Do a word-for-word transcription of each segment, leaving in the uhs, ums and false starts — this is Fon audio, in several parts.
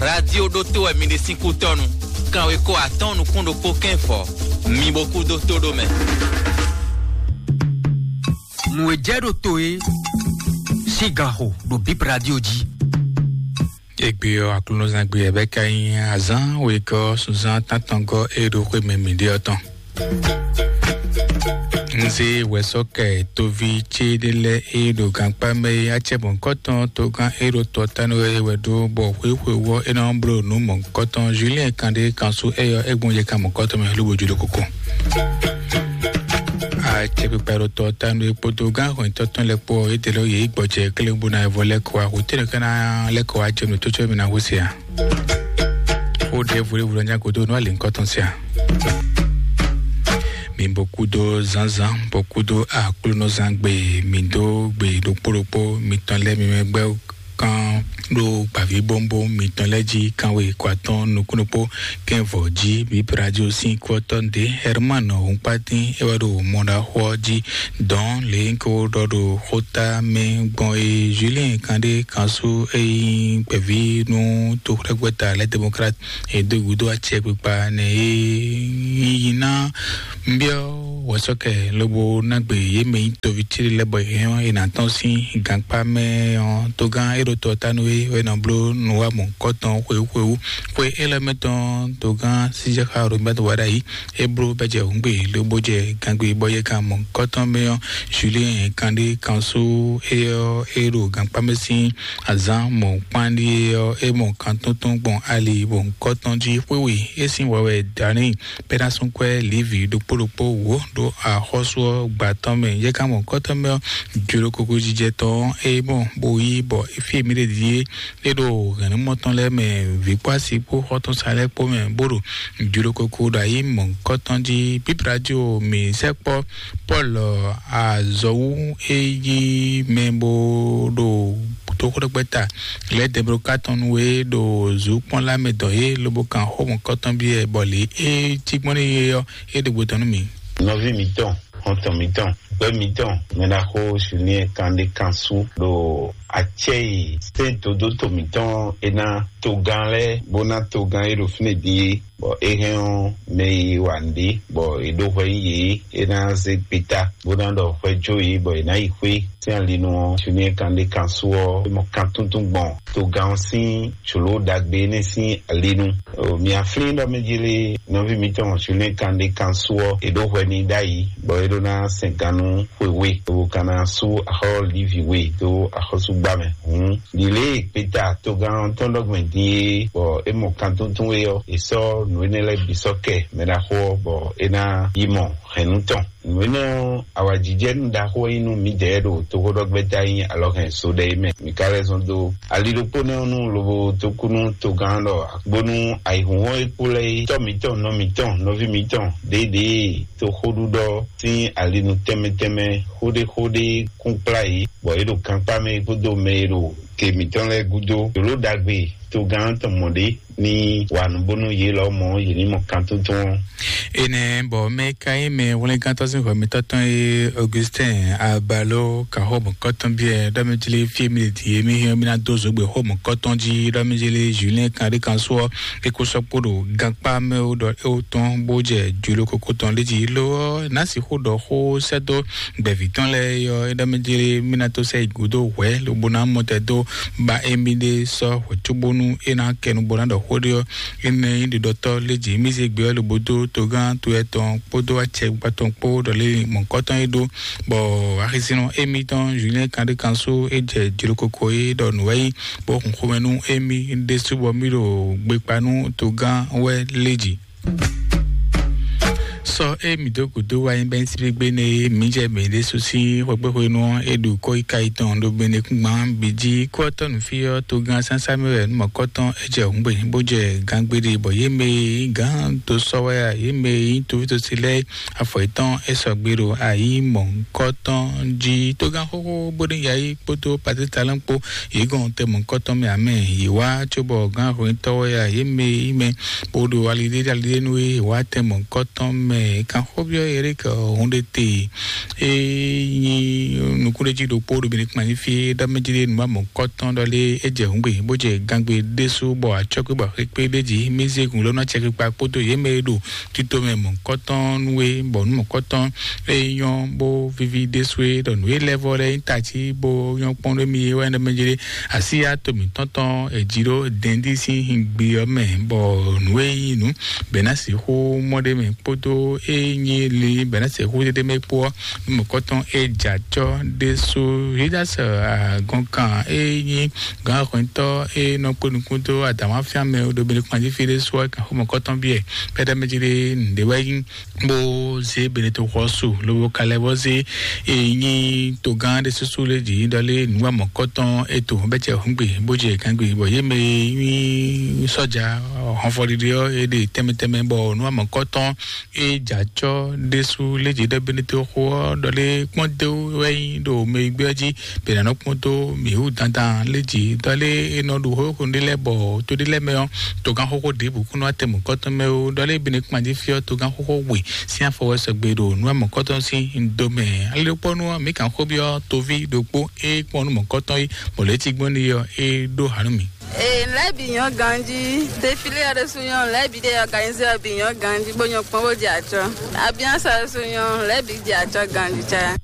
Radio ɖótó wɛ mi ɖe sín kútɔ́nu. Kanweko atɔ́ɔ́n nukún ɖokpó kɛ́nfɔ. Mi bo kú dó tó ɖó mɛ. Nǔ e jɛ ɖo to e sín ganxo ɖo Bip Radio jí. Egbe ɔ́, aklúnɔzán gbe ɛ bɛ ka nyí azán wegɔ́ sunzán tántɔngɔ́ e ɖo xwé mɛ mǐ ɖe ɔ́ tɔn. Nze wɛsɔkɛ tovi ce ɖe lɛ e ɖo gankpá mɛ e acɛ mɔ̌kɔtɔn togán e ɖo tɔ tanu e wɛ ɖó bɔ xwéxwe wɔ e nɔ bló nǔ mɔ̌kɔtɔn Julien kan ɖe kan sú eyɔ e gbɔn yɛ kan mɔ̌kɔtɔn mɛ lobo jlo koko. Acɛkpikpa e ɖo tɔ tanu e kpódó gán hɔnyitɔtɔn lɛ kpó ɔ, e ɖe lɔ yě gbɔjɛ kléwún bó ná evɔ lɛ́ kɔ wá hwetɛ́nɛ ká ná lɛ́ kɔ wá jɛ nǔ tó cóbɔ mi ná hú se a? Xó ɖěvo ɖěvo lɔ nyá gúdo nú alǐŋkɔtɔn se a? Mi bo kúdó zǎnzǎn, bo kúdó aklúnɔzán gbe, mi dó gbe ɖokpó ɖokpó mitɔn lɛ́ɛ mi mɛ gbɛ́ kan ɖó gbǎví bóńbóń mitɔn lɛ́ɛ jí kanwe kɔ atɔ́ɔ́n nukúnnú kpó kɛ́nvɔ̌ jí. Bíbí Radio sín kútɔ́ ɖě Herman Hɔnkpátín é wɛ ɖo mɔɖaxó ɔ́ jí dɔn lě ko ɖɔ ɖo xóta mɛ gbɔn é Julien Kandé kanṣú é nyí gbɛ̌ví nú toxwlɛ́gbɛ́ta lɛ́ Démocrate e dó gǔdo acɛkpikpa nɛ e yí ná nbyɔ́ wɛ̌sɔ́kɛ lobo ná gbe yě mɛ nyí toví céɖé lɛ́ɛ bɔ yě hɛn ɔ́, è nǎ tɔ́n sín gankpá mɛ ɔ́. Togán é ɖo tɔ ta nú é wɛ nɔ bló nǔwamɔ kɔ́tɔn xwewú xwewú. Xwe élɔ́ mɛ tɔn togán sísɛ́xá Robert Wadayi é bló bɛ́jɛ hǔngbe lobo jɛ gangbe bɔ yɛ kan mɔ kɔ́tɔn mɛ ɔ́, Julien Kandé kanṣú é ɔ́ é ɖo gankpá mɛ sín azǎn mɔ̌kpán ɖíe ɔ́, é mɔ kantótó gbɔn ali bɔ kɔ́tɔn jí xwéwe é sín wɛwɛ dǎní Pɛ́násúnkwɛ́ Livi ɖokpó ɖokpó wǒ ɖo axɔ́sú ɔ́ gba tɔn mɛ. Yɛ ka mɔ kɔ́tɔn mɛ ɔ́, jlokoko jijɛ tɔn ɔ́, é mɔ bó yí bɔ fí e mǐ ɖe ɖíe é ɖo hɛ̌nnumɔ tɔn lɛ́ɛ mɛ, vǐ kpó asi kpó xɔ́tɔn sa lɛ́ɛ kpó mɛ, bó ɖo jlokoko ɖo ayǐ mɔ̌hunkɔtɔn jí. Bíbí Radio mǐ sɛkpɔ́ Pɔ́lu azɔ̌wú e yí mɛ bó ɖo toxóɖɔgbɛ́ta lɛ́ɛ dɛblókatɔn nú é ɖo zǔkpɔ́nlá mɛ dɔn yě lobo kan xó mɔ̌hunkɔtɔn byɔ́ ɛ bɔ lě é cí gbɔn n'i é ɔ́, é ɖo gbe tɔn nú mǐ. Nɔví mǐtɔn, xɔ́ntɔn mǐtɔn, gbɛ́ mǐtɔn, mɛɖaxó Julien Kandé kanṣú ɖo acɛ́ e sɛ́n dodóto mǐtɔn é ná togán lɛ́ɛ bó ná togán e ɖo fínɛ́ din é, bɔ é hɛn ɔ́ mɛ e wa nǔɖé bɔ è ɖó hwɛ nyi yě é ná zé gbeta bó ná ɖɔ hwɛ jó yě bɔ è nǎ yi xwé sín ali nu ɔ́. Julien Kandé kanṣú ɔ́ é mɔ kan túntún gbɔn togán ɔ́ sín jlǒ ɖagbe énɛ́ sín ali nu. Mia flín ɖɔ mɛ jélé nɔví mǐtɔn Julien Kandé kanṣú ɔ́, è ɖó hwɛ n'i ɖ'ayǐ bɔ é ɖó ná sɛn gannú xwe we, lobo ka ná sú axɔ́ Livi we dó axɔ́súgbá mɛ. Hǔn ɖi lě e gbeta togán tɔn ɖɔ gbɛn din é, bɔ é mɔ kan túntún é ɔ́, è sɔ́ nǔ énɛ́ lɛ́ɛ bǐ sɔ́ kɛ mɛɖaxó ɔ́, bɔ é ná yi mɔ hɛ̌nnu tɔn. Nǔ énɛ́ ɔ́, awǎjijɛnú ɖaxó e nyí nú mǐdɛɛ ɖo toxóɖɔgbɛ́ta nyí alɔhɛn so ɖɛ é mɛ. Mǐ ka lɛ́ zɔn dó ali ɖokpó nɛ́ ɔ́ nu lobo dó kú nú togán ɖɔ bónú ayǐhúnhɔ́n e kpo lɛ́ɛ é, tɔ́ mǐtɔn, nɔ mǐtɔn, nɔví mǐtɔn ɖěɖě toxóɖuɖɔ sín ali nu tɛnmɛ tɛnmɛ xóɖéxóɖé kún kplá yě, bɔ é ɖo gankpá mɛ kpódó mɛ e ɖo te mǐtɔn lɛ́ɛ gúdo. Jlǒ ɖagbe togán tɔn mɔ ɖě ní wa nǔ bónú yě lɔ mɔ yě ní mɔ kan tuntun ɔ́. Énɛ́ bɔ mɛ ka nyí mɛ hwlɛ́ngántɔ́ sín hwɛmɛtɔ́ tɔn e Augustin Abalo kaxó mɔ̌kɔtɔn biɛ ɖɔ mɛ jlé fí e mi ɖe din e mi hɛn mi ná dó zǒgbé xó mɔ̌kɔtɔn jí ɖɔ mɛ jlé Julien Kanɖé kan sú ɔ́, é kó sɔ́ kpó ɖo gankpá mɛ ó ɖɔ é ó tɔn bó jɛ jǔló kókó tɔn lé jí ló ɔ́, ná sixú ɖɔ xó sɛ́ dó gbɛ̌ví tɔn lɛ́ɛ é ɔ́, é ɖɔ mɛ jlé mi ná tó sɛ yi gǔdo hwɛ̌ lobo ná mɔ tɛ dó ba émí ɖé sɔ́ hwɛ̌ cóbónú é ná kɛ nu bó ná ɖɔ xó ɖé ɔ́. Énɛ́ nyí ɖiɖɔtɔ́ lé jǐ mì zé gbé ɔ́ lobo dó togán to etɔn kpódó acɛkpa tɔn kpó ɖɔ lé mɔ̌kɔtɔn é ɖó, bɔ axisínɔ émítɔn Julien Kanɖé kan sú é jɛ jlokoko é ɖɔ nǔ wɛ nyí, bó hun xomɛ nú émí ɖésú bɔ mì ɖo gbekpa nú togán wɛ lé jǐ. Sɔ e mǐ dó gǔdo wá nyí bɛ́ síbígbé nɛ e mǐ jɛ mǐ ɖésú sín xwekpéxwenu ɔ́, é ɖu kɔ́yíká yětɔn ɖo Benɛkúngban bǐ jí. Kú ɔ́ tɔ́ nǔ fí ɔ́, togán sásá mɛ wɛ nú mɔ̌kɔtɔn é jɛ hǔngbe, bó jɛ gangbeɖe, bɔ yě mɛ e nyí gǎn dó sɔ́ wɛ a, yě mɛ e nyí tovítosi lɛ́ɛ afɔ yětɔn é sɔgbe ɖo ayǐ mɔ̌hunkɔtɔn jí. Togán xóxó bó ní yayi kpódó patítalɛ́n kpó yě gɔn tɛ mɔ̌hunkɔtɔn mɛ ǎ mɛ. Yě wá cóbɔ gǎn hwɛntɔ́ wɛ a, yě mɛ e nyí mɛ bó ɖo aliɖé aliɖé nú é, yě wá tɛ mɔ̌hunkɔtɔn mɛ. Kanxɔbyɔ Eric Hundete e nyi nukúnɖéjí ɖokpó ɖo Benin kpan fí ɖɔ mɛ jí ɖe nǔ amɔ̌kɔtɔn ɖɔ lé é jɛ hǔngbe bó jɛ gangbe ɖésú bɔ acɔ́kpé bɔ xwekpé ɖé jí mí zé gun lɔnà cɛkpikpa kpódó yě mɛ e ɖo tito mɛ mɔ̌kɔtɔn nú é bɔ nǔ mɔ̌kɔtɔn e nyɔ́ bó víví ɖésú é ɖɔ nǔ é lɛ́ vɔ lɛ́ nyí tají bó nyɔ́ kpɔ́n ɖó mì é wɛ ɖɔ mɛ jí ɖe asíyá to mǐtɔn tɔn è jǐ ɖó dɛndí sín hingbi ɔ́ mɛ bɔ nǔ e nyí nǔ bɛ̌ ná sixú mɔ ɖ'é mɛ kpódó e nyí li bɛ̌ ná sixú ɖ'é mɛ kpó ɔ́, mɔ̌kɔtɔn e jɛ acɔ́ ɖésú Yudas agɔnkan e nyí gǎnhwɛntɔ́ e nɔ kpé nukún dó adǎnwáfíá mɛ ɖo Benin kpan jí fí ɖé sú ɔ́, kan xó mɔ̌kɔtɔn bíɛ pɛ́dɛ́ mɛ jí ɖé nǔɖé wɛ nyí bó zé Beneto xɔ su lobo ka lɛ́ vɔ zé e nyí togán ɖé súsú lé jǐ ɖɔ lé nǔ amɔ̌kɔtɔn e to bɛ́ cɛ hǔngbe bó jɛ gǎngbe bɔ yě mɛ e nyí sɔ́ja hɔnfɔɖiɖi ɔ́ é ɖe tɛnmɛ tɛnmɛ bɔ nǔ amɔ̌kɔtɔn e jɛ acɔ́ ɖésú lé jǐ ɖɔ Beneto xo ɔ́ ɖɔ lé kpɔ́n dó wɛ nyí ɖo mɛ e gbé ɔ́ jí bɛ nǎ nɔ kpɔ́n dó mǐ wú dandan lé jǐ ɖɔ lé é nɔ ɖu xó xó ɖé lɛ́ɛ bɔ tó ɖé lɛ́ɛ mɛ ɔ́ togán xóxó ɖěbǔ kún nɔ atɛmukɔtɔn mɛ ó ɖɔ lé Benin kpan jí fí ɔ́ togán xóxó we sín afɔ wɛ sɔgbe ɖo nǔ amɔ̌kɔtɔn sín domɛ. Alilokpɔ́nú ɔ́, mǐ kan xó byɔ́ toví ɖokpó e kpɔ́n nú mɔ̌kɔtɔn é, bɔ lě e tigbɔn n'i ɔ́, é ɖó ha nú mì. Ee, lɛ́ bǐ nyɔ́ ganjí. Défilé ɔ́ ɖésú nyɔ́, lɛ́ bǐ ɖe organizé ɔ́ bǐ nyɔ́ ganjí, bó nyɔ́ kpɔ́n bó jɛ acɔ́. Abiansa ɖésú nyɔ́, lɛ́ bǐ jɛ acɔ́ ganjí caya.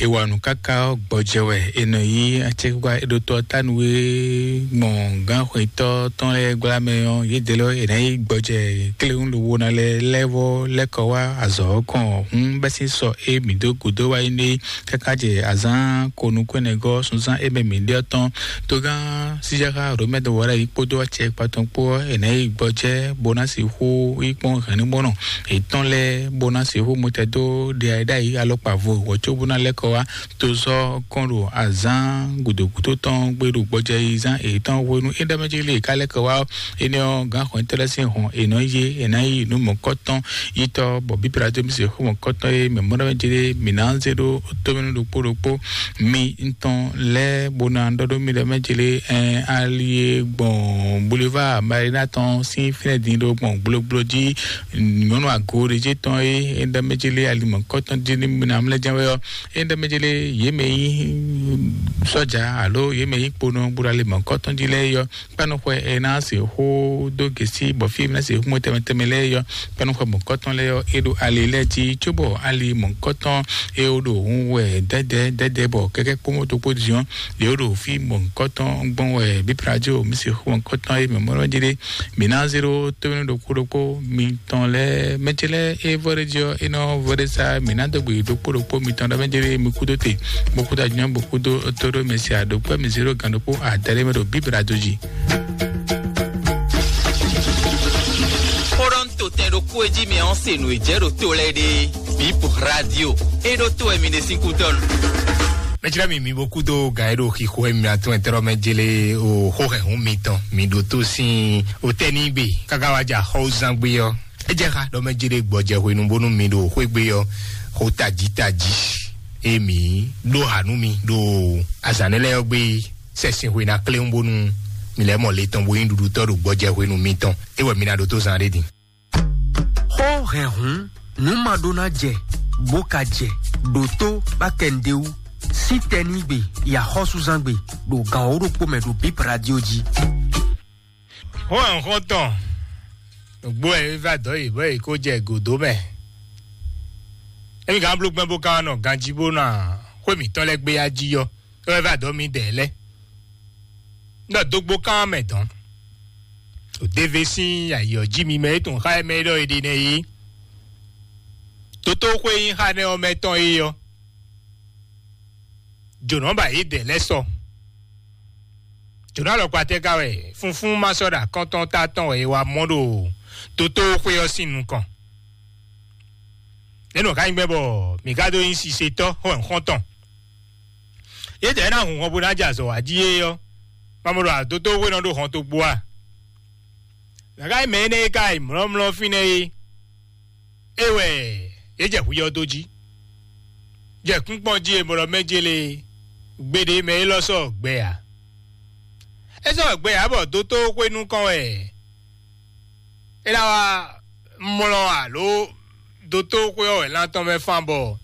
È wa nǔ káká ɔ́ gbɔjɛ wɛ è nɔ yí acɛkpikpa e ɖo tɔ ɔ́ ta nú é gbɔn gǎnxwetɔ́ tɔn lɛ́ɛ gbla mɛ ɔ́, yědɛɛ lɔ è nǎ yí gbɔjɛ kléwún lobo ná lɛ́ lɛ́ vɔ lɛ́ kɔ wá azɔ̌ ɔ́ kɔn hǔn bɛ́ sín sɔ e mǐ dó gǔdo wá yi nú é káká jɛ azǎn ko nukúnnɛgɔ́ sunzán e mɛ mǐ ɖe ɔ́ tɔn. Togán síjáxá Romɛ́ dɔwɔɖá yi kpódó acɛkpa tɔn kpó ɔ́, è nǎ yí gbɔjɛ bó ná sixú yí kpɔ́n hɛ̌nnumɔnɔ yětɔn lɛ́ɛ bó ná sixú mɔtɛn dó ɖe ayǐ ɖ'ayǐ alɔkpa vo wǒ có bó ná lɛ́ kɔ wá tozɔ́ kɔn ɖo azǎn gǔdo gúdo tɔn gbé ɖo gbɔjɛyízán yětɔn hwenu é ɖɔ mɛ jí lě ká lɛ́ kɔ wá ɔ́, énɛ́ ɔ́, gǎn xɔnyítɔ́ lɛ́ɛ sín hɔn è nɔ yí é, è ná yí nǔ mɔ̌kɔtɔn yítɔ́ bɔ bǐ Pilato mì se xó mɔ̌kɔtɔn e mɛ mɔ ɖɔ mɛ jí ɖé mǐ ná zé ɖó tómɛnú ɖokpó ɖokpó mi ŋutɔn lɛ́ɛ bó ná ɖɔ ɖó mi ɖɔ mɛ jí lé ɛn ali e gbɔn boulevard Marina tɔn sín fínɛ́ din ɖó gbɔn gblógbló jí nyɔ̌nu ago ɖé jí tɔn e é ɖɔ mɛ jí lé ali mɔ̌kɔtɔn jí ní mi ná mlɛ́ jɛ́n wɛ ɔ́, é ɖɔ mɛ jí lé yě mɛ nyí sɔ́ja alo yě mɛ nyí kponɔ bó ɖo ali mɔ̌kɔtɔn jí lɛ́ɛ yɔ kpɛ́núxwɛ e ná se xó dó gěsí bɔ fí e ná se xó mɔ tɛnmɛ tɛnmɛ lɛ́ɛ yɔ kpɛ́núxwɛ mɔ̌kɔtɔn lɛ́ɛ ɔ́ é ɖo ali lɛ́ɛ jí cóbɔ ali mɔ̌kɔtɔn e ó ɖo hun wɛ dɛdɛ dɛdɛ bɔ kɛkɛ kpó mɔto kpó diɔn yě ó ɖo fí mɔ̌kɔtɔn gbɔn wɛ bíplajo mi se xó mɔ̌kɔtɔn e mɛ mɔɖɔ jí ɖé mi ná zéro tómɛnú ɖokpó ɖokpó mitɔn lɛ́ɛ mɛtí lɛ́ɛ e vɔ ɖé jí ɔ́ é nɔ vɔ ɖé sá mi ná dó gbe ɖokpó ɖokpó mitɔn ɖɔ mɛ jí ɖé mi kúdó te bó kúdó ajunyɔ bó kúdó tó ɖó mɛ si aɖokpó mi zéro gan ɖokpó adaɖé mɛ ɖo bíbla dó jí. Xóɖɔ́ntotɛn ɖokpó e jí mi ɔ́ se nǔ e jɛ ɖo to lɛ́ɛ ɖe. Bip Radio. E ɖo to wɛ mi ɖe sín kútɔ́ nu. Mɛjlá mi mi bó kúdó gǎn e ɖo xixo e mi atún ɛtɛ́rɔ mɛ jele o xó hɛn hún mitɔn mi ɖo tó sín o tɛ́ ní gbe káká wá jà xɔ́wúzán gbé ɔ́. É jɛ xá ɖɔ mɛ jele gbɔjɛ hwenu bónú mi ɖo xwé gbé ɔ́ xó tají tají e mi ɖó ha nú mi ɖo azǎn lɛ́ɛ ɔ́ gbé sɛsin hwena kléwún bónú mi lɛ́ mɔ le tɔn bó nyí ɖuɖutɔ́ ɖo gbɔjɛ hwenu mitɔn. É wɛ mi ná ɖótó zán ɖé din. Xó hɛn hǔn nǔ ma ɖó ná jɛ bó ka jɛ ɖǒtó bá kɛ nǔɖé wú. Sítɛnígbe yi axɔ́súzángbe ɖo gǎn wǒ ɖokpó mɛ ɖo Bip Radio jí. Xó hɛn xɔ́ntɔn nǔgbó wɛ é vá dɔ̌ yě bɔ yě kó jɛ gǒdó mɛ. Émi gǎn bló gbɛ́ bó ka wá nɔ ganjí bó ná xwé mǐtɔn lɛ́ɛ gbé yá jí yɔ. É wɛ vá dɔ̌ mǐdɛɛ lɛ́ɛ. Nɔ dógbó kán mɛ dɔn. Òdeve sín ayǐ ɔ́ jí mi mɛ e tun xá mɛ e ɖɔ è ɖe nɛ́ é. Tótóxwé nyí xá nɛ́ ɔ́ mɛ tɔn é ɔ́. Jǒnɔ ba yě dɛ lɛ́ sɔ. Jǒnɔ alɔkpa tɛ́ ka wɛ funfún ma sɔ́ ɖo akɔ́ntɔn ta tɔn wɛ è wá mɔ ɖo tótóxwé ɔ́ sín nukɔn. Nɛ̌ nɔ ka nyí gbɛ́ bɔ mǐ ka dó nyí sisetɔ́ xɔ́nxɔ́ntɔn? Yědɛɛ ná hun hɔn bó ná jɛ azɔ̌ wá jí é ɔ́, ma mɔ ɖɔ adótó hwe nɔ ɖó hɔn tó gbó a? Gǎgá mɛ énɛ́ e ka yi mlɔ́mlɔ́ fínɛ́ é, é wɛ yě jɛ hwi ɔ́ dó jí. Jɛ kúnkpɔ́n jí e mɔ ɖɔ mɛ jélé gbeɖé mɛ élɔ́ sɔ́ gbɛ ǎ. É sɔ́ gbɛ ǎ bɔ dótó xwé nukɔn wɛ é ná wá mlɔ alo dótó xwé ɔ́ wɛ lan tɔn mɛ fan bɔ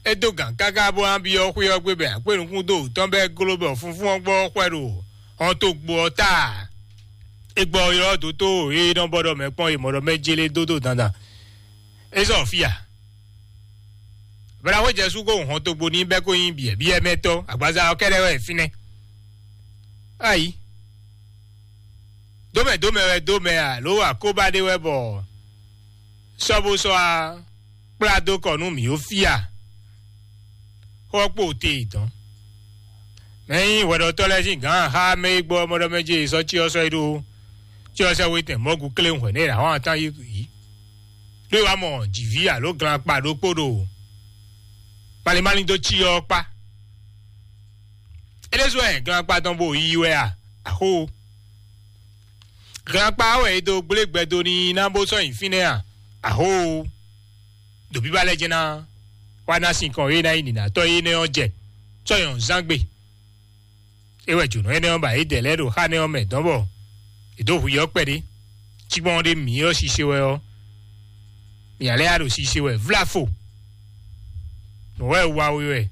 é dó gǎn káká bó ná byɔ́ xwé ɔ́ gbé bɔ akwé nukún dó wǔtɔn bɔ é gló bɔ funfún ɔ́ gbɔ xwɛ ɖo hɔntogbo ɔ́ ta. É gbɔ ylɔ́ dótó e nɔ bɔ ɖɔ mɛ kpɔ́n e mɔ ɖɔ mɛ jélé dó dó dandan. É zɔ fí a? Bɛlɛxwé Jesu ko hun hɔntogbo ní bɛ́ kó nyí biɛ̌biɛ́mɛtɔ́, agbaza ɔ́ kɛ́ɖɛ́ wɛ fínɛ́. Ayi, dómɛ dómɛ wɛ dómɛ alo akóbá ɖé wɛ bɔ sɔ́ bó sɔ́ á kplá dó kɔ nú mǐ ó fí a? Xó ɔ́ kpo te dɔn. Mɛ nyí hwɛɖɔtɔ́ lɛ́ɛ sín gǎn xá mɛ e gbɔ mɔɖɔ mɛ jí sɔ́ cyɔ sɔ́ é ɖó cyɔ sɛ́ wetɛn mɔ̌gu kléwun hwɛ̌ nɛ é ɖo ahɔ́ atán yí yǐ. Ɖó é wá mɔ jǐví alo glan kpa ɖokpó ɖo malín malín dó cyɔ ɔ́ kpá. É ɖésú wɛ glan kpa tɔn bo yiyi wɛ a? Axó. Glan kpa ɔ́ wɛ è dó gblé gbɛ dó n'i ná bó sɔ́ nyi fínɛ́ a? Axó. Ɖo bíbá lɛ́ɛ jɛ́n ná wá ná sinkɔn e ná nyí nǐnátɔ́ énɛ́ ɔ́ jɛ sɔ́ nyɔ̌nu zán gbe. É wɛ jǒnɔ énɛ́ ɔ́ ba yě dɛ lɛ́ɛ ɖo xá nɛ́ ɔ́ mɛ dɔn bɔ è dǒ hu yɔ kpɛɖé. Cikpɔ́n ɖé mǐ ɔ́ sise wɛ ɔ́, mǐ ǎ lɛ́ ya ɖo sise wɛ vláfo. Nǔ wɛ wa we wɛ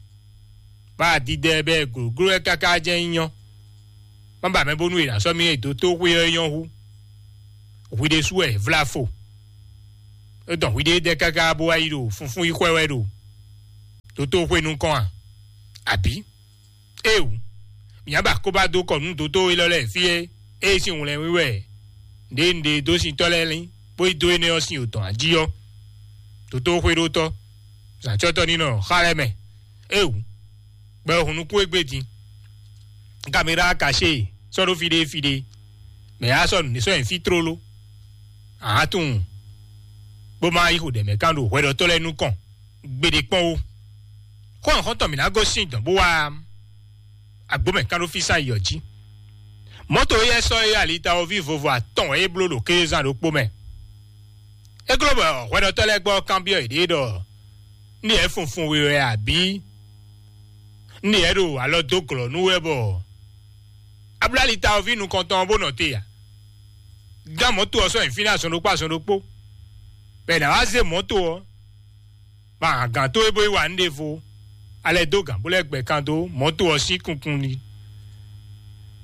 bá a didɛ bɛ́ glǒgló wɛ káká jɛ́n nyí nyɔ́. Má ba mɛ bónú è nǎ sɔ́ mì e dó tó xwé ɔ́ nyɔ́ hú. Hwi ɖésú wɛ vláfo. É dɔn hwi ɖéedɛ́ káká bó wá yi ɖo funfún yi xwɛ wɛ ɖo dótó xwé nukɔn a? Abǐ? Éewu, mǐ ná ba kóbá dó kɔ nú dótó élɔ́ lɛ́ɛ fí é, ée sín wlɛ́nwí wɛ ɖěe un ɖe dó sintɔ́ lɛ́ɛ lín, bó yi dó énɛ́ ɔ́ sín odɔ̌n ají ɔ́. Dótó xwéɖótɔ́, zǎncɔ́tɔ́ ní nɔ xá lɛ́ɛ mɛ. Éewu, gbɛ ɔ́ hun nukún égbé din. Kaméra kaṣé sɔ́ ɖó fí ɖé fí ɖé, mɛ yá sɔ́ nǔ sɔ́ nyi fí tlóló. Ǎ tunwun, bó má yi xo ɖɛ mɛ kán ɖo hwɛɖɔtɔ́ lɛ́ɛ nukɔn gbeɖé kpɔ́n ó. Xó xɔ́ntɔn mǐ ná gosín dɔ̌n bó wá agbǒ mɛ kán ɖó fí sán yi ɔ́ jí. Mɔ̌to éyɛ́ sɔ́ é alitawoví vovo atɔn wɛ é bló ɖo kézán ɖokpó mɛ. É gló bɔ hwɛɖɔtɔ́ lɛ́ɛ gbɔ kanbyɔ́ yěɖée ɖɔ: "Nú yě funfun we wɛ abǐ? Nú yě ɖo alɔ dó glɔ̌ nú wɛ bɔ a bló alitawoví nukɔntɔn ɔ́ bó nɔ te a?" Gán mɔ̌to ɔ́ sɔ́ nyi fínɛ́ azɔn ɖokpó azɔn ɖokpó, bɔ è nǎ wá zé mɔ̌to ɔ́, ma hǎn gǎn towe bó yi wa nǔ ɖěvo, a lɛ́ dó gǎn bó lɛ́ gbɛ kan dó mɔ̌to ɔ́ sín kunkun ní.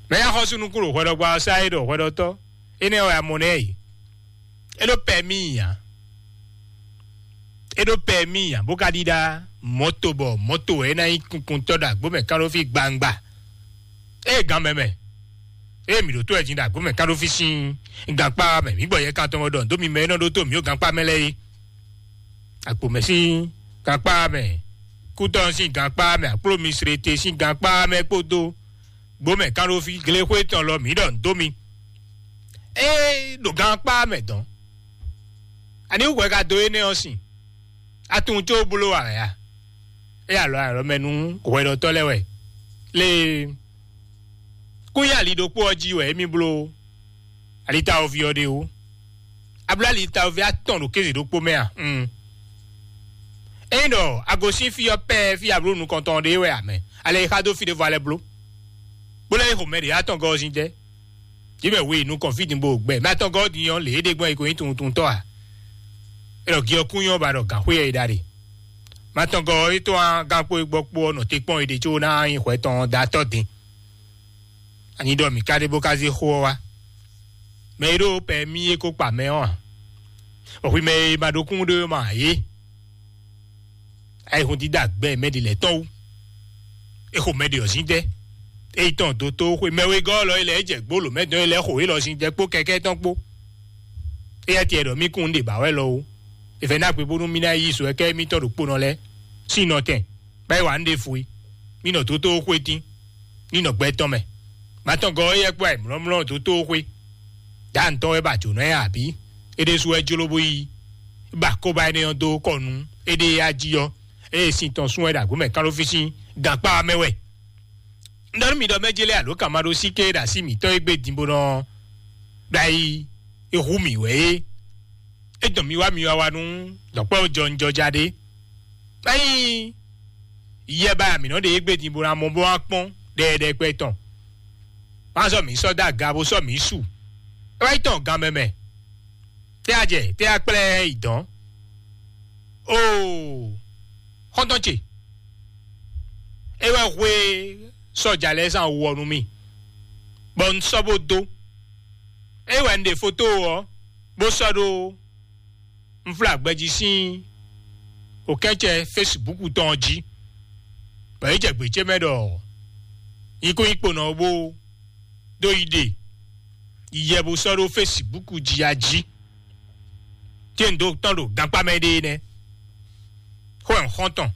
Mɛ nyí axɔ́sú nukún ɖo hwɛɖɔgbá ɔ́ sá é ɖɔ hwɛɖɔtɔ́, énɛ́ wɛ a mɔ nɛ́ yi. É ɖó pɛmí ǎ. É ɖó pɛmí ǎ, bó ka ɖíɖá mɔ̌to bɔ mɔ̌to wɛ é ná nyí kunkuntɔ́ ɖo agbǒ mɛ kán ɖó fí gbangba. Ée gǎn mɛ mɛ, ée mǐ ɖo tó wɛ din ɖo agbǒ mɛ kán ɖó fí sín gankpá mɛ, mǐ gbɔ yɛ kan tɔn wɛ ɖɔ dó mi mɛ e nɔ ɖó tó mǐ ó gankpá mɛ lɛ́ɛ é. Agbǒ mɛ sín gankpá mɛ, kútɔ́ sín gankpá mɛ, akpló mi srete sín gankpá mɛ kpódó gbǒ mɛ kán ɖó fí glexwé tɔn lɔ mǐ ɖɔ dó mi. Ée ɖo gankpá mɛ dɔn, ani wú hwɛ ka dó énɛ́ ɔ́ sin? A tunwun có bló ǎ wɛ a? É alɔ alɔ mɛ nú hwɛɖɔtɔ́ lɛ́ɛ wɛ. Lée kún nyi ali ɖokpó ɔ́ jí wɛ émí bló alitawoví ɔ́ ɖe ó. A bló alitawoví atɔn ɖo kéze ɖokpó mɛ a? Un. Ényí ɖɔ a gosín fí ɔ́ pɛ́ɛ fí a bló nukɔntɔn ɖé wɛ a mɛ, alɛ e xa dó fí ɖěvo a lɛ́ bló, bó lɛ́ yi xo mɛ ɖě atɔngɔ́ ɔ́ sín jɛ. Yě mɛ we yi nukɔn fí din bó gbɛ mɛ atɔngɔ́ ɔ́ din ɔ́, lě é ɖe gbɔn é ko nyí tunwuntunwuntɔ́ ǎ. É ɖɔ gi ɔ́ kún nyɔ́ ba ɖɔ gǎnxwé ɔ́ é ɖa ɖe. Mɛ atɔngɔ́ ɔ́ é tɔ́n wá gán kpó é gbɔ kpó ɔ́ nɔ te kpɔ́n é ɖe có ná nyí hwɛ tɔn ɔ́ da tɔ́ din. Ani ɖɔ mǐ ka ɖe bó ka zé xó ɔ́ wá? Mɛ e ɖó pɛ mì é ko kpa mɛ ɔ́ ǎ. Bɔ hwi mɛ e ma ɖó kún ɖó é ma ǎ é. Ayihún dídá gbɛ mɛ ɖi lɛ́ tɔn wú. É xo mɛ ɖi ɔ̌ sín tɛ́. É yi tɔn dó tó xwe mɛ wegɔ́ lɔ é lɛ́ é jɛ gbó lǒ mɛ dɔn é lɛ́ xo é lɔ sín tɛ́ kpó kɛkɛ́ tɔn kpó. Éyɛ́ tiɛ ɖɔ mí kún un ɖe bǎ wɛ lɔ ó. È fɛ ná gbe bónú mí ná yí sɔ kɛ́ émítɔn ɖokpónɔ lɛ́ɛ sín nɔ tɛn, bɔ é wa nǔ ɖěvo é. Mí nɔ dó tó xwé tín, ní nɔ gbɛ tɔn mɛ. Mátɔngɔ́ éyɛ́ kpó ayǐmlɔ́mlɔ́ dó tó xwé. Dǎ ntɔ́ wɛ ba jǒnɔ ɛ abǐ? É ɖésú wɛ jló bó yí ba kóbá énɛ́ ɔ́ dó kɔ nú éɖée yá jí ɔ́, ée sin tɔn sún wɛ ɖo agbǒ mɛ kán ɖó fí sín gankpá ɔ́ mɛ wɛ. Un ɖɔ nú mi ɖɔ mɛ jélé alo kan ma ɖó síké ɖo así mǐtɔn e gbé din bó nɔ ɖo ayi e hu mì wɛ é. É dɔn mi wá mi wá wá nú dɔ̌kpɛ́ jɔnjɔja ɖé. Ényí yɛ ba mǐ nɔ ɖe égbé din bó ná mɔ bó wá kpɔ́n ɖɛɖɛkpɛ tɔn. Má sɔ́ mǐ sɔ́ dó aga bó sɔ́ mǐ su. É wá yi tɔn gan mɛ mɛ. Tɛ a jɛ, tɛ a kplɛ yi dɔn. Oo, xɔntɔn ce, é wɛ hwe sɔja lɛ́ɛ zan wɔ nú mì, bɔ un sɔ́ bó dó. É wɛ un ɖe foto ɔ́, bó sɔ́ ɖó un flá gbɛjí sín òkɛ́cɛ Facebook tɔn ɔ́ jí, bɔ é jɛ gbě ce mɛ ɖɔ nyikúnyikponɔ ɔ́ bó dó yi ɖe yiyɛ bó sɔ́ ɖó Facebook jí a jí. Tí un dó tɔn ɖo gankpá mɛ ɖe nɛ́. Xó ɛ xɔ́ntɔn,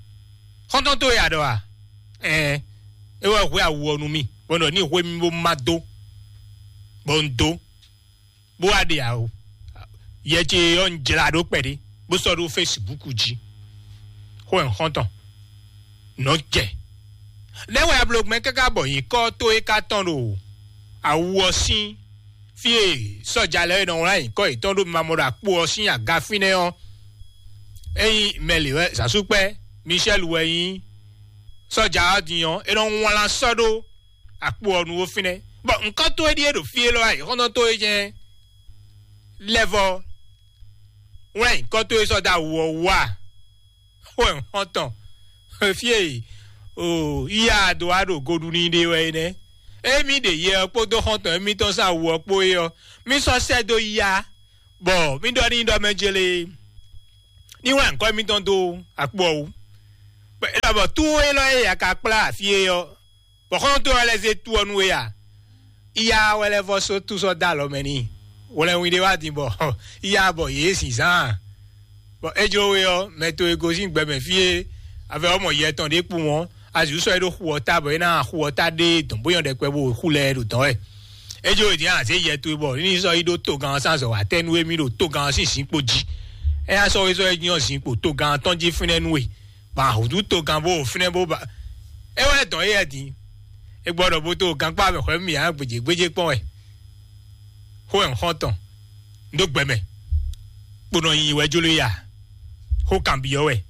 xɔ́ntɔn tó yà ɖɔ a? Ɛɛ, é wɛ hwɛ awu ɔ́ nú mì, bɔ ɖɔ ní hwé mi bó má dó, bɔ un dó, bó wá ɖe awu. Yɛ ce ɔ́, un jlá ɖó kpɛɖé, bó sɔ́ ɖó Facebook jí. Xó ɛ xɔ́ntɔn, nɔ jɛ. Nɛ́ wɛ ablogbɛ́ káká bɔ nyǐkɔ tó é ká tɔn ɖo awu ɔ́ sín fí e sɔ́ja lɛ́ɛ nɔ wlán nyǐkɔ yětɔn ɖó mimamɔ ɖo akpo ɔ́ sín aga fínɛ́ ɔ́? Ényí mɛlǐ wɛ zǎnsúkpɛ́ Michel wɛ nyí sɔ́ja ɔ́ din ɔ́, é nɔ wlán sɔ́ ɖó akpo ɔ́ nu ó fínɛ́. Bɔ nǔkɔ́ towe ɖíe ɖo fí élɔ́ wá yi xɔ́ntɔn towe jɛ́n lɛ́vɔ́ wlán nyǐkɔ towe sɔ́ dó awu ɔ́ wú a? Xó ɛ xɔ́ntɔn fí e o yíyá dó wá ɖo goɖu n'i ɖe wɛ é nɛ́. Émí ɖe yɛ ɔ́ kpódó xɔ́ntɔn émítɔn sín awu ɔ́ kpó é ɔ́, mí sɔ́ sɛ́ dó yíyá, bɔ mí ɖɔ n'i ɖɔ mɛ jélé ní wlán nyǐkɔ émítɔn dó akpo ɔ́ wú. Bɔ é ɖɔ bɔ tú élɔ́ e a ka kplá afí é ɔ́, bɔ xɔ́ntɔn ɔ́ lɛ́ zé tú ɔ́ nú we a? Iya wɛ lɛ́ vɔ só tú sɔ́ dó alɔ mɛ n'i. Hwlɛnwin ɖé wá din bɔ iya bɔ yě zǐnzán. Bɔ é jló we ɔ́, mɛ towe gosín gbɛmɛ fí e avɛ ɔ́ mɔ yɛ tɔn ɖé kpowun ɔ́, azǐ sɔ́ é ɖó xu ɔ́ ta bɔ é ná xu ɔ́ ta ɖé dɔ̌n bó nyɔ́ ɖɛkpɛ bó xú lɛ́ɛ ɖo dɔ̌n wɛ. É jló we din azě yɛ towe bɔ ní sɔ́ yi ɖó togán ɔ́ sín azɔ̌ wá tɛ́ nú émí ɖo togán ɔ́ sín zǐnkpo jí. É ná sɔ́ we sɔ́ é nyɔ́ zǐnkpo togán ɔ́ tɔn jí fínɛ́ nú we. Ba hǔzú togán bó fínɛ́ bó ba é wɛ dɔn éyɛ́ din. É gbɔ ɖɔ bó tó gankpá mɛ xwɛ mì ǎ gbèjègbèjè kpɔn wɛ. Xó ɛ xɔ́ntɔn, un ɖó gbɛ mɛ, kponɔ nyi wɛ jló ya. Xó kanbyɔ́ wɛ.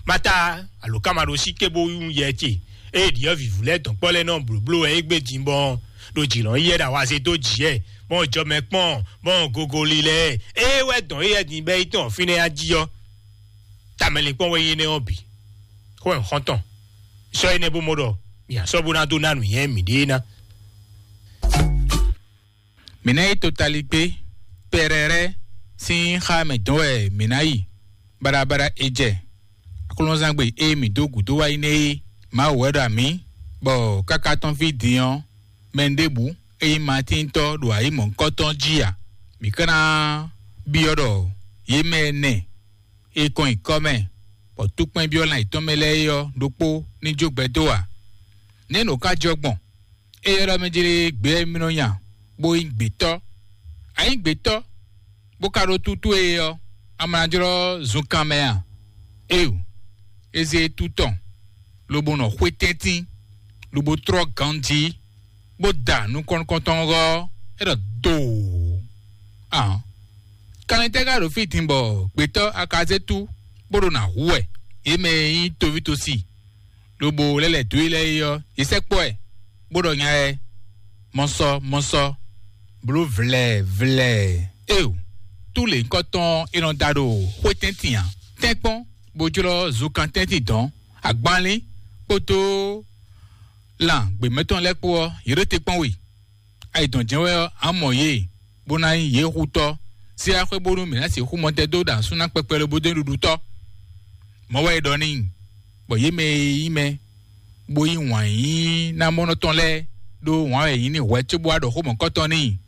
Mata alo kama ɖo sí ké bó yún yɛ ce. Ée ɖiɔ́ vǐvú lɛ́ɛ dɔn kpɔ́ lɛ́ɛ nɔ blǒbló wɛ é gbé din bɔ ɖo jǐ lɔn yɛ ɖo awaze dó jǐ ɛ, bɔn jɔ mɛ kpɔn, bɔn gogoli lɛ́ɛ. Ée wɛ dɔn éyɛ́ din bɛ́ yi tɔn fínɛ́ á jí ɔ́, tamɛlinkpɔ́n wɛ nyí énɛ́ ɔ́ bǐ. Xó ɛ xɔ́ntɔn, sɔ́ énɛ́ bó mɔ ɖɔ mǐ á sɔ́ bó ná dó ná nǔnywɛ́ mǐɖée ná. Mǐ ná yi totaligbé pɛrɛrɛ sín xá mɛ dɔn wɛ mǐ ná yi baɖabaɖa e jɛ aklúnɔzangbe e mǐ dó gǔdo wá yi nɛ́ é. Mawu wɛ ɖo amǐ, bɔ káká tɔn fí din ɔ́, mɛ ɖěbǔ e nyí Matíntɔ́ ɖo ayǐ mɔ̌hunkɔtɔn jí ǎ. Mǐ ka ná byɔ́ ɖɔ yě mɛ ɛnɛ e kɔn nyi kɔ́ mɛ, bɔ túkpɛ́n byɔ́ lan yětɔn mɛ lɛ́ɛ é ɔ́ ɖokpó ní jó gbɛ dó ǎ. Nɛ̌ nǔ ka jɔ gbɔn? É ylɔ́ mɛ jlé gbě e mì nɔ nya bó nyí gbětɔ́. A nyǐ gbětɔ́, bó ka ɖó tútú e ɔ́, a ma ná jlɔ́ zunkan mɛ a? Éeǒ, é zé é tú tɔn, lobo nɔ xwé tɛ́ntin, lobo tlɔ́ ganjí, bó da nukɔn nukɔntɔn ɔ́, é ɖɔ doo. Ahɔn, kanlin tɛ́ ka ɖo fí din bɔ gbětɔ́ a ka zé tú bó ɖo nǎ hu wɛ? Yě mɛ e nyí toví tosi lobo lɛ́ lɛ̌ dó e lɛ́ɛ é ɔ́, yě sɛkpɔ́ ɛ, bó ɖɔ nya ɛ mɔsɔ mɔsɔ, bló vlɛ̌ vlɛ̌. Éeǒ, tú lěhunkɔtɔn e nɔ da ɖo xwé tɛ́ntin ǎ. Tɛ́nkpɔ́n bó jlɔ́ zunkan tɛ́ntin dɔ̌n, agbanlín kpódó lan gběmɛtɔn lɛ́ɛ kpó ɔ́, yě ɖo te kpɔ́n we. Ayǐ dɔn jɛ́n wɛ ɔ́, a mɔ yě, bó ná nyí yě xutɔ́. Sé axwé bónú mǐ ná sixú mɔ tɛn dó ɖo asú ná kpɛkpɛ lobo dó nyí ɖuɖutɔ́? Mɔ̌ wɛ è ɖɔ n'i, bɔ yě mɛ e nyí mɛ, bó yí wǎn yíyí ná mɔ́ nɔ tɔn lɛ́ɛ ɖó wǎn wɛ è nyí n'i hwɛ̌ cóbó wá ɖɔ xó mɔ̌kɔtɔn n'i.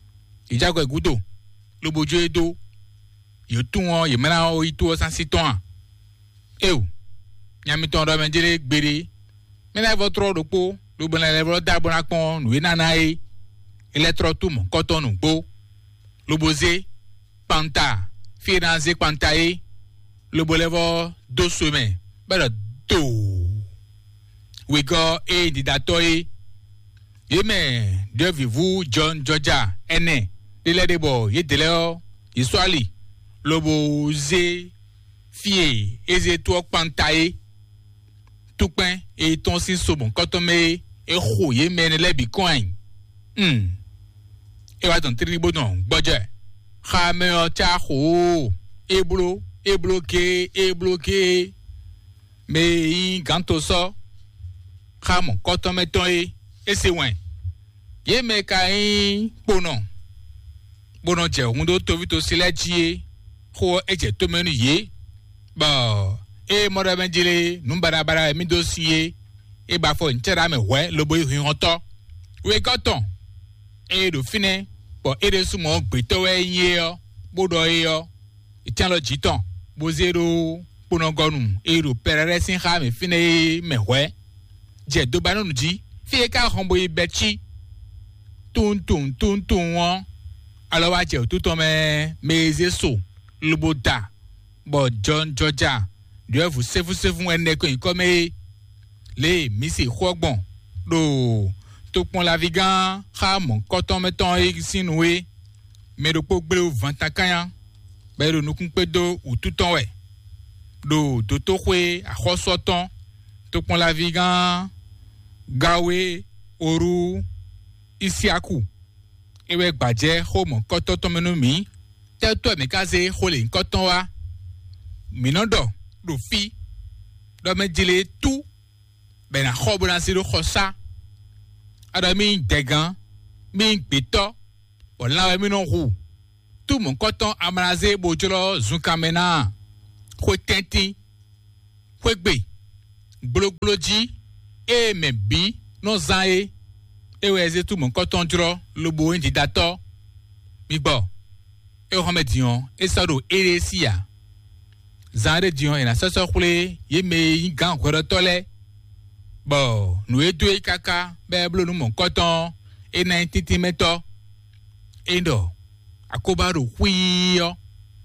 Yě jɛ akwɛ́ gúdo, lobo jó e dó. Yě tunwun ɔ́, yě mɛ ná yi tó ɔ́ sín así tɔn a? Éeǒ, nya mitɔn ɖɔ mɛ jlé gbeɖé. Mɛ lɛ́ɛ vɔ tlɔ́ ɖokpó, lobo lɛ́ vɔ dó abɔ ná kpɔ́n nǔ e ná ná é. É lɛ́ tlɔ́ tú mɔ̌kɔtɔn nǔgbó, lobo zé kpanta fí e ná zé kpanta é, lobo lɛ́ vɔ dó so mɛ, bɔ é ɖɔ doo. Wěgɔ́ e nyí ɖiɖatɔ́ é. Yě mɛ ɖyɔ̌vǐvú jɔnjɔja ɛnɛ ɖé lɛ́ɛ ɖe bɔ yědɛɛ lɛ́ɛ ɔ́, yě sɔ́ ali, lobo zé fí e é zé tó ɔ́ kpanta é. Túkpɛ́n e tɔ́n sín so mɔ̌kɔtɔn mɛ é, é xo yě mɛ énɛ́ lɛ́ɛ bǐ kɔn ayǐ. Hmm. É wá dɔn tlílí bó dɔn gbɔjɛ́. Xá mɛ ɔ́ cá xo ó, é bló, é bló géé, é bló géé. Mɛ e nyí gǎntosɔ́ xá mɔ̌kɔ́tɔ́ mɛ tɔn é, é se wɛn. Yě mɛ e ka nyí kponɔ, bó nɔ jɛ hǔn dó toví tosi lɛ́ɛ jí é, xó ɔ́ é jɛ tó mɛ nú yě, bɔ ée mɔ ɖɔ mɛ jlé nǔ baɖabaɖa e mì dó sin é, é ba afɔ nyǐcá ɖa mɛ hwɛ̌ lobo yi hinhɔntɔ́. Wegɔ́ tɔn, ée ɖo fínɛ́, bɔ é ɖésú mɔ gbětɔ́ wɛ é nyí é ɔ́, bó ɖɔ é ɔ́, é cyán alɔ jǐ tɔn, bó zé ɖó kponɔgɔnu e ɖo Pɛrɛ́rɛ́ sín xá mɛ fínɛ́ é mɛ hwɛ̌, jɛ dobanɔnu jí, fí e ka hɔn bo yi bɛ́ cí. Tunwun tunwun tunwun tunwun ɔ́, alɔ wá jɛ wǔtu tɔn mɛ, mɛ e zé so lobo da, bɔ jɔnjɔja ɖyɔ̌vǔ sɛ́fúsɛ́fú wɛ nɛ́ kɔn nyǐkɔ mɛ é. Lě e mǐ se xó ɔ́ gbɔn ɖo tokpɔnlaví gán xá mɔ̌kɔ́tɔn mɛ tɔn é sín nu é, mɛ ɖokpó gbléwú vantakánya, bɔ é ɖo nukún kpé dó wǔtu tɔn wɛ, ɖo dotóxwé axɔ́sú ɔ́ tɔn, tokpɔnlaví gán Gawe Oru Isiaku. É wɛ gbǎjɛ́ xó mɔ̌kɔ́tɔn tɔn mɛ nú mǐ. Tɛ́tɔ́ mǐ ka zé xó lěhunkɔtɔn wá? Mǐ nɔ ɖɔ ɖo fí ɖɔ mɛ jlé tú bɔ è nǎ xɔ bó ná zé ɖó xɔsá. A ɖɔ mì nyí dɛgán, mì nyí gbětɔ́, bɔ lan wɛ mì nɔ hu. Tú mɔ̌kɔ́tɔn amlazé bó jlɔ́ zunkanmɛ ná a? Xwe tɛ́ntin, xwé gbe, gblogbló jí, ée mɛ bǐ nɔ zán é, é wɛ zé tú mɔ̌kɔ́tɔn jlɔ́ lobo nyí didatɔ́. Mi gbɔ, é xɔ́mɛ din ɔ́, é sɔ́ ɖo éɖée sí ǎ. Zan ɖé din ɔ́, è nǎ sɔ́ sɔ́ xwlé yě mɛ e nyí gǎn hwɛɖɔtɔ́ lɛ́ɛ, bɔ nǔ e dó é káká bɔ é bló nǔ mɔ̌kɔ́tɔn ɔ́, é ná nyí tíntín mɛ tɔ́. É ɖɔ akóbá ɖo xwíí ɔ́,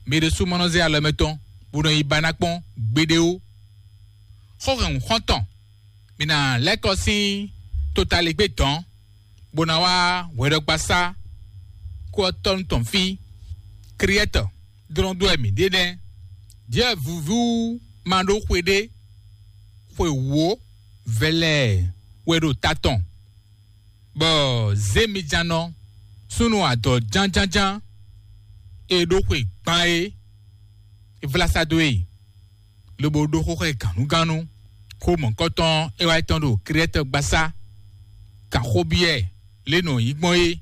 mɛ ɖésú ma nɔ zé alɔ mɛtɔn bó nɔ yi ba ná kpɔ́n gbeɖé ó. Xó hɛn xɔ́ntɔn, mǐ ná lɛ́ kɔ sín totaligbé dɔ̌n, bó ná wá hwɛɖɔgbasá kó ɔ́ tɔ́nu tɔn fí. Kriɛ́tɔ dlɔ́n dó wɛ mǐ ɖe nɛ́. Jɛ vǔvú ma ɖó xwe ɖé, xwe wǒ vɛlɛɛ wɛ ɖo ta tɔn, bɔ zěmijannɔ súnnu adɔ̌ jánjánján e ɖó xwe gban é, é vlá sá dó e, lobo ɖó xó xá ɛ gǎnnugánnu. Xó mɔ̌kɔtɔn é wá tɔn ɖo Krɛ́tɔ gbasá, kan xó byɔ́ ɛ lě nɔ nyí gbɔn é.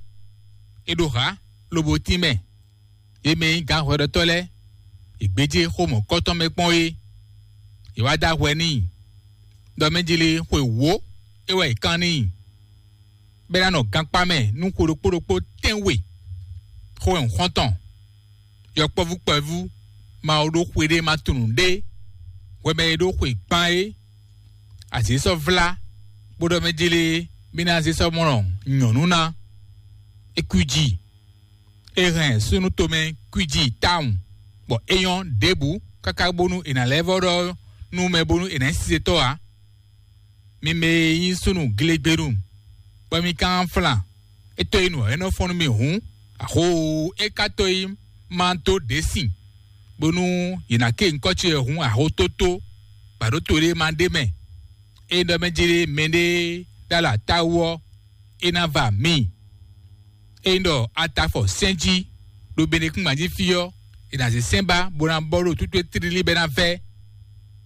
É ɖo hǎ, lobo tín mɛ. Yě mɛ e nyí gǎnhwɛɖɔtɔ́ lɛ́ɛ, yě gbéjé xó mɔ̌kɔtɔn mɛ kpɔ́n é. Yě wá dó ahwɛ n'i, ɖɔ mɛ jlé xwe wǒ é wɛ yě kán n'i, bɔ é ná nɔ gankpá mɛ nú xwe ɖokpó ɖokpó tɛ́nwe. Xó wɛ un xɔ́n tɔn. Yɔkpɔ́vú kpɛvú ma ɖó xwe ɖé ma tunwun ɖé. Hwɛ mɛ e ɖó xwe gban é, azě sɔ́ vlá, bó ɖɔ mɛ jlé mì ná zé sɔ́ mɔ nyɔ̌nu ná. É kwíji, é hɛn súnnu tomɛ kwíji tawun, bɔ é nyɔ́ ɖěbǔ káká bónú è nǎ lɛ́ vɔ́ ɖɔ nú mɛ bónú è nǎ nyí sisetɔ́ ǎ. Mi mɛ e nyí súnnu glegbenu, bɔ mi ka nɔ flan, é tó yi nǔ ɔ́, é nɔ fɔ́n nú mi hǔn, axó e ka tó yi ma dó ɖě sin, bónú yě ná ké nyǐkɔ ce wɛ hǔn axó tótó, bɔ aɖǒ to ɖé ma ɖ'é mɛ. Ényí ɖɔ mɛ jlé mɛɖé ɖó alɔ ata wú ɔ́, é ná va mǐ. Ényí ɖɔ a ta afɔ sɛ́n jí ɖo Benekúngban jí fí ɔ́, è nǎ zě sɛ́n ba bó ná bɔ ɖo tútú e tlílí bɔ é ná vɛ́.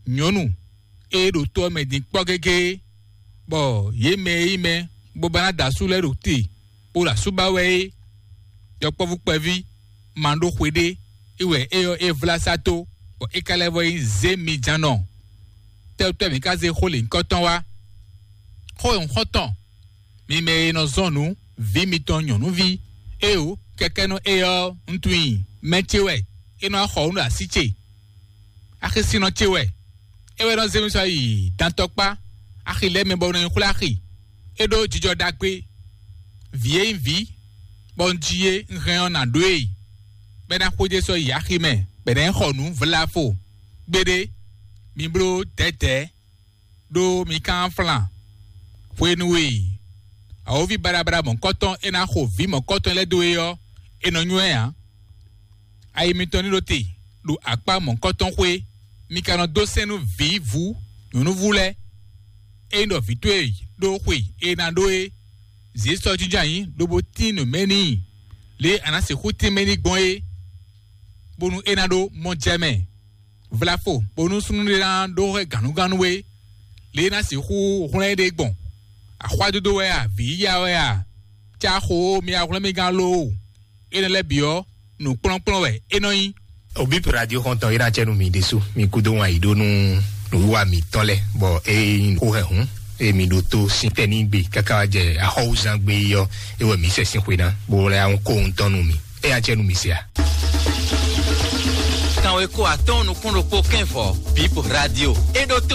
Nyɔ̌nu e ɖo to ɔ́ mɛ din kpɔ́ gégé, bɔ yě mɛ e nyí mɛ bó ba ná da asú lɛ́ɛ ɖo te bó ɖo asú ba wɛ é, yɔkpɔ́vú kpɛví ma ɖó xwe ɖé, é wɛ é ɔ́ é vlá sá tó, bɔ é ka lɛ́ vɔ nyí zěmijannɔ. Tɛ́tɔ́ mǐ ka zé xó lěhunkɔtɔn wá? Xó e un xɔ́n tɔn, mi mɛ e nɔ zɔn nǔ, vǐ mitɔn nyɔ̌nuví, éeǒ, kɛkɛ́nɔ éyɛ́ ɔ́, un tunwun i mɛ ce wɛ, é nɔ wá xɔ nǔ ɖo así ce. Axisinnɔ ce wɛ, é wɛ nɔ zé mi sɔ́ yi dantɔkpá axi lɛ́ɛ mɛ bɔ un nɔ yi xwlé axi. É ɖó jijɔ ɖagbe. Vǐ e nyí vǐ, bɔ un ji é, un hɛn ɔ́ nǎ ɖó e, bɔ é ná xwedó sɔ́ yi axi mɛ, bɔ è nǎ yi xɔ nǔ vlafo. Gbeɖé, mi bló dɛ̌dɛ̌, ɖó mi ka nɔ flan. Hwenu e awǒvi baɖabaɖa mɔ̌kɔtɔn e ná xo vǐ mɔ̌kɔtɔn lɛ́ɛ dó é ɔ́, è nɔ nywɛ́ ǎ. Ayi mitɔn ní ɖo te ɖo akpá mɔ̌kɔtɔn xwé, mi ka nɔ dó sɛ́n nú vǐvú nyɔ̌núvú lɛ́ɛ. Ényí ɖɔ vǐ towe ɖó xwe e è nǎ ɖó é, zě sɔ́ jínjɔ́n ayǐ lobo tín nǔ mɛ n'i, lě e a nǎ sixú tín mɛ n'i gbɔn é. bónú é ná ɖó mɔ jɛ mɛ. Vlafo bónú súnnu ɖé ná ɖó hwɛ gǎnugánú é, lě e ná sixú hwlɛ́n ɖe gbɔn. Axwádódó wɛ a, vǐyíyá wɛ a, cá xo mi ahwlɛ́n mi gán lóo. Énɛ́ lɛ́ɛ bǐ ɔ́, nǔkplɔ́nkplɔ́n wɛ é nɔ nyí. Obip radio xɔntɔn ira cɛ nu mi ɖesu mi kudo wan yi ɖo nu nuwiwa mi tɔn lɛ bɔ e yin ko hɛ hun e mi ɖo to sin tɛ ni gbe kaka wa jɛ axɔwuzan gbe yi ɔ e wɛ mi sɛ sin xwe na bo lɛ ahun ko ŋutɔn nu mi eya cɛ nu mi se a. Kanwe ko atɔn nukun ɖokpó kɛn vɔ bip radio e ɖo to.